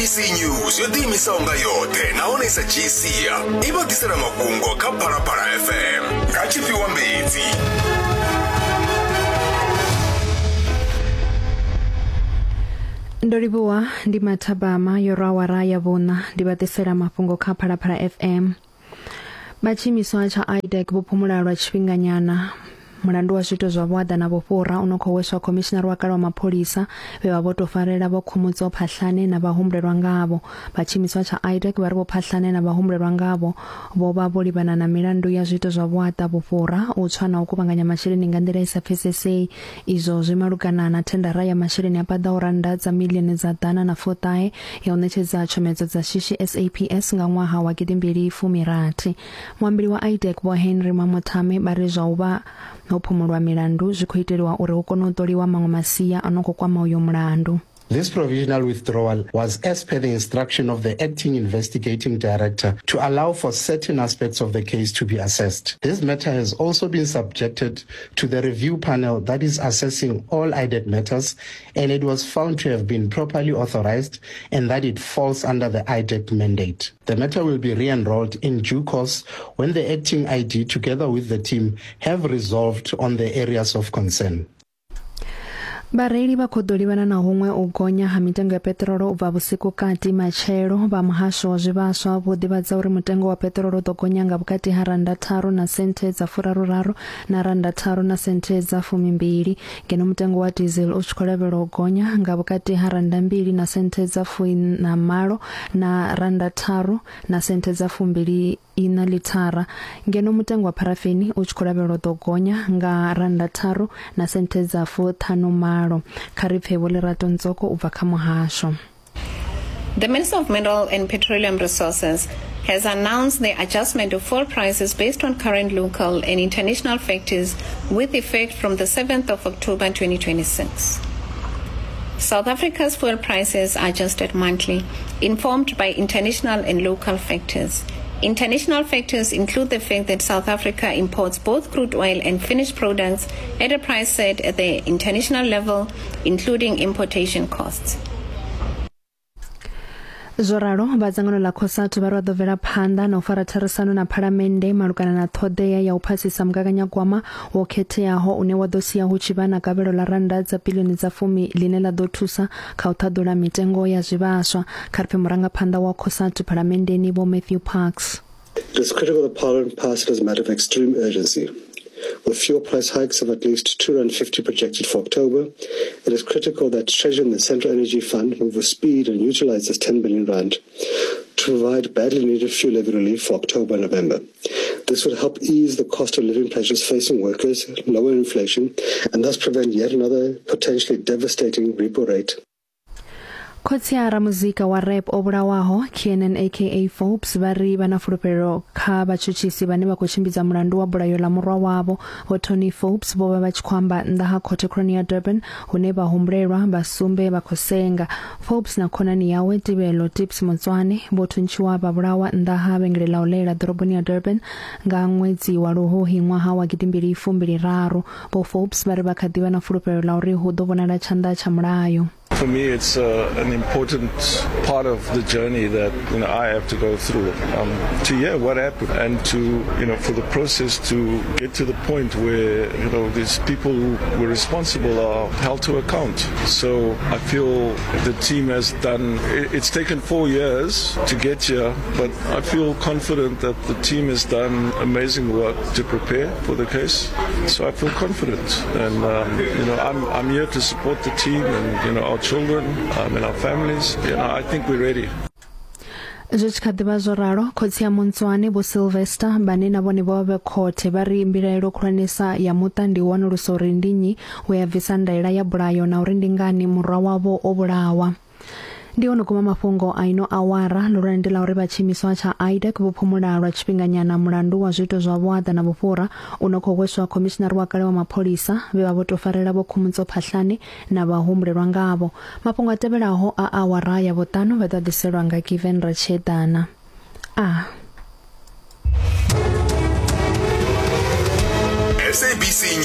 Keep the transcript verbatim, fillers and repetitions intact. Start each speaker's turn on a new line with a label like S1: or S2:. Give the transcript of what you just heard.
S1: S A B C News yo ḓiimisaho nga yoṱhe nahone sa dzhii sia i vha ḓisela mafhungo kha Phalaphala F M nga Tshifhiwa Mbedzi.
S2: Ndo livhuwa ndi mathabama yo rwa awara ya vhuṋa ndi vha ḓisela mafhungo kha Phalaphala F M. Vha tshiimiswa tsha I D E C vho phumula lwa tshifhinganyana mulandu wa zwiito zwa vhuaḓa na vhufhura u no khou hweswa khomishinari wa kale wa mapholisa vhe vha vho tou farela Vho Khomotso Phahlane na vhahumbulelwa ngavho. Vha tshiimiswa tsha I D E C vha ri Vho Phahlane na vhahumbulelwa ngavho vho vha vho livhana na milandu ya zwiito zwa vhuaḓa, vhufhura, u tswa na u kuvhanganya masheleni nga nḓila i sa pfesesei. Izwo zwi malugana na thendara ya masheleni a paḓaho rannda dza miḽioni dza ḓana na fuṱahe ya u ṋetshedza tshomedzo dza shishi S A P S nga ṅwaha wa gidimbili fumi rathi. Muambeli wa I D E C Vho Henry Mamothame vha ri zwa u vha ho phumulwa milandu zwi khou iteliwa uri hu kone u ṱoliwa maṅwe masia a no khou kwama uyo mulandu.
S3: This provisional withdrawal was as per the instruction of the acting investigating director to allow for certain aspects of the case to be assessed. This matter has also been subjected to the review panel that is assessing all I D E C matters, and it was found to have been properly authorized and that it falls under the I D E C mandate. The matter will be re-enrolled in due course when the acting I D together with the team have resolved on the areas of concern.
S2: Vhareili vha khou ḓo livhana na huṅwe u gonya ha mitengo ya peṱirolo u bva vhusiku kati matshelo. Vha muhasho wa zwivhaswa vho ḓivhadza uri mutengo wa peṱirolo u ḓo gonya nga vhukati ha rannda tharu na senthe dza furaruraru na rannda tharu na senthe dza fumimbili, ngeno mutengo wa diesel u tshi khou lavhelelwa u gonya nga vhukati ha rannda mbili na senthe dza fuiṋa malo na rannda tharu na senthe dza fumbili ina lithara, ngeno mutengo wa pharafeni u tshi khou lavhelelwa u ḓo gonya nga rannda tharu na senthe dza fuṱhanu malo. Kha ri pfe Vho Lerato Ntsoko u bva kha muhasho.
S4: The Minister of Mineral and Petroleum Resources has announced the adjustment of fuel prices based on current local and international factors with effect from the seventh of October twenty twenty-six. South Africa's fuel prices are adjusted monthly, informed by international and local factors. International factors include the fact that South Africa imports both crude oil and finished products at a price set at the international level, including importation costs.
S2: Zwo ralo, vha dzangano ḽa COSATU vha ri vha ḓo bvela phanḓa na u fara therisano na phalamennde malugana na ṱhoḓea ya u phasisa mugaganyagwama wo khetheaho une wa ḓo sia hu tshi vha na gavhelo ḽa rannda dza biḽioni dza fumi ḽine ḽa ḓo thusa kha u ṱhaḓula mitengo ya zwivhaswa. Kha ri pfe murangaphanḓa wa COSATU phalamenndeni Vho Matthew Parks.
S5: It is critical that Parliament pass it as a matter of extreme urgency. With fuel price hikes of at least two rand fifty projected for October, it is critical that Treasury and the Central Energy Fund move with speed and utilize this ten billion rand to provide badly needed fuel levy relief for October and November. This would help ease the cost of living pressures facing workers, lower inflation, and thus prevent yet another potentially devastating repo rate.
S2: Khotsi a ramuzika wa rap o vhulawaho Kiernan aka Forbes vha ri vha na fulufhelo kha vhatshutshisi vhane vha khou tshimbidza mulandu wa bulayo ḽa murwa wavho. Vho Tony Forbes vho vha vha tshi khou amba nnḓa ha khothe khulwane ya Durban hune vha humbulelwa vha sumbe vha khou senga. Forbes na khonani yawe Tibelo Tips Motswane vho thuntshiwa vha vhulawa nnḓa ha vhengele ḽa u lela ḓoroboni ya Durban nga ṅwedzi wa Luhuhi ṅwaha wa gidimbili fumbili raru. Vho Forbes vha ri vha kha ḓi vha na fulufhelo ḽa uri hu ḓo vhonala tshanḓa tsha mulayo.
S6: For me, it's uh, an important part of the journey that you know I have to go through um, to hear what happened and to you know for the process to get to the point where you know these people who were responsible are held to account. So I feel the team has done. It's taken four years to get here, but I feel confident that the team has done amazing work to prepare for the case. So I feel confident, and um, you know I'm I'm here to support the team and you know our children um, and our families. You know, I think we're ready.
S2: Zwi tshi kha ḓivha zwo ralo, khotsi ya Montswane Vho Sylvester vhane na vhone vho vha vhe khothe vha ri mbilaelo khulwanesa ya muṱa ndi u wanulusa uri ndi nnyi we a bvisa ndaela ya bulayo na uri ndi ngani murwa wavho o vhulawa. Ndi hone guma mafhungo a ino awara. Ḽihulwane ndi ḽa uri vha tshiimiswa tsha I D E C vho phumula lwa tshifhinganyana mulandu wa zwiito zwa vhuaḓa na vhufhura u no khou hweswa khomishinari wa kale wa mapholisa vhe vha vho tou farela Vho Khomotso Phahlane na vhahumbulelwa ngavho. Mafhungo a tevhelaho a awara ya vhuṱanu vha ḓo ḓiselwa nga Given Ratshedana. A
S1: S A B C